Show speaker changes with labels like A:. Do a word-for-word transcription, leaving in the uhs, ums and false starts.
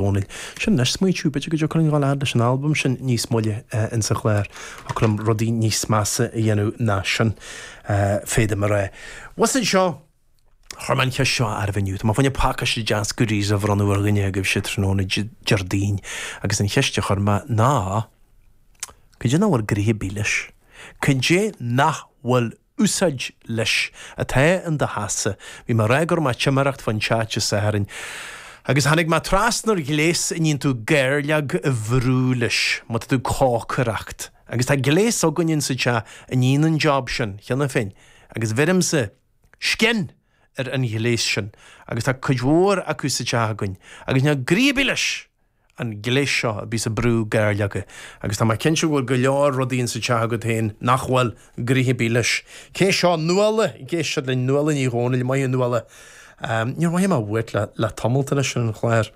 A: Dhónaill. Sin anois smaointiú, b'fhéidir go dtiocfaidh linn dhul fhad leis an albam sin níos moille insa chlár. Thiocfadh liom rudaí níos measa a dhéanamh ná sin, féadaim a rá. Bhus anseo, chuir mé an cheist seo oraibh inniu. Tá mé fá choinne pacáiste deas goodies a bhronnadh ar dhuine agaibhse tráthnóna Déardaoin agus an cheist a chuir mé ná, cad é nach bhfuil gnoithe ar bith leis? Cad é nach bhfuil úsáid leis atá in do theachsa? Bhí mé ag rá go raibh mé ag timireacht fán teach Dé Sathairn agus tháinig mé trasna ar ghléas a níonn tú gairleog a bhrú leis má tá tú ag cócaireacht. Agus tá gléas againn insa teach a níonn an job sin cheana féin agus bheirimse scian ar an ghléas sin agus tá cuid mhór acu sa teach againn agus níl gnoithe ar bith leis an gléas seo a bíos ag brú gairleoga agus tá mé cinnte go bhfuil go leor rudaí insa teach agat féin nach bhfuil gnoithe ar bith leis. Cé seo? Nuala ag éisteacht linn, Nuala Ní Dhomhnaill, maith thú Nuala. Níor mhothaigh mé uait le le tamalt anois ar an chlár.